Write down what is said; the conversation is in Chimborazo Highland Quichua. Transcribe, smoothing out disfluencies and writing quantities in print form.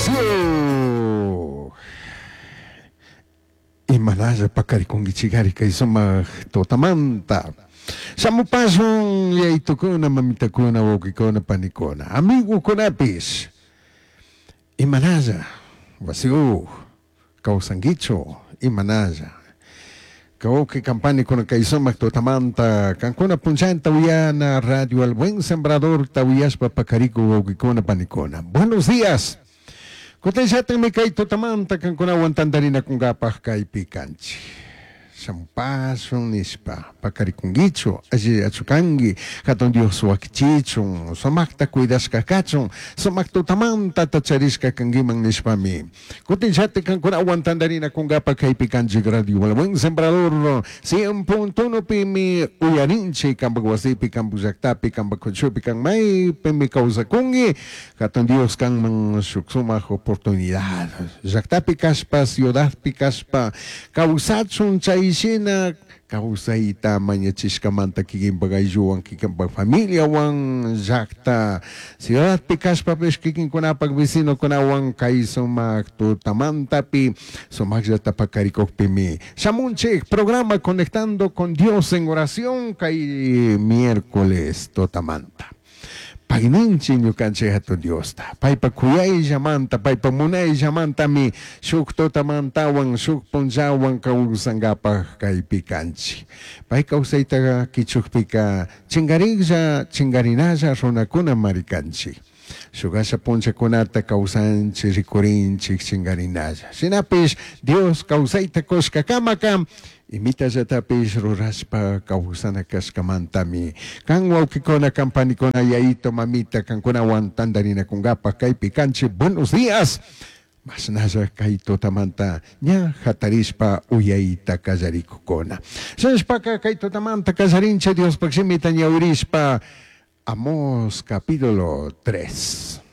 Wasiu. Imanalla pakaricunguichigari kay sumaq tutamanta. Shamupashun yaitukuna, mamitakuna, wawqikuna, panikuna, amigukunapish. Imanalla wasiuj kawsankichu imanalla. Kawki kampanikuna kay sumaq tutamanta kankuna punchanta uyana Radio El Buen Sembrador tawiyashpa pakariku wawqikuna panikuna. Buenos días. Kutinllatakmi kay tutamanta kankunawan tantarinakunkapaj kaypi kanchik. Shampashun nishpa pakarikunkichu allillachu kanki hatun Dios wakichichun sumakta cuidashka kachun sumak tutamanta tacharishka kankiman nishpami kutinllatik kankunawan tantarinakunkapaj kaypi kanchik Radio El Buen Sembrador 100.1 pimi uyarinchik kanpak wasipi kanpak llaktapi kanpak kuchupi kan maypimi kawsakunki hatun Dios kanman shuk sumak oportunidad llaktapi kashpa ciudadpi kashpa kawsachun chayshina kawsayta mañachishkamanta kikinpak aylluwan kikinpak familiawan llakta ciudadpi kashpapish kikinkunapak vecinokunawan kay sumak tutamantapi sumakllata pakarikukpimi shamunchik programa Conectando con Dios en oración kay miércoles tutamanta. Payninchik ñukanchik hatun Diosta paypa kuyayllamanta paypa munayllamantami shuk tutamantawan shuk punllawan kawsankapaj kaypi kanchik. Pay kawsayta kichukpika chinkariklla chinkarinalla runakuna mari kanchik. Shuk asha punllakunata kawsanchik rikurinchik chinkarinalla. Shinapish Dios kawsayta kushkakamaka imitallatapish rurashpa kawsana kashkamantami kan wawqikuna kan panikuna yayito mamita kankunawan tantarinakunkapaj kaypi kanchik. Buenos días. Mashnalla kay tutamanta ña hatarishpa uyayta kallarikukuna. Shinashpaka kay tutamanta kallarinchik Diospaj shimita ñawirishpa Amós capítulo 3.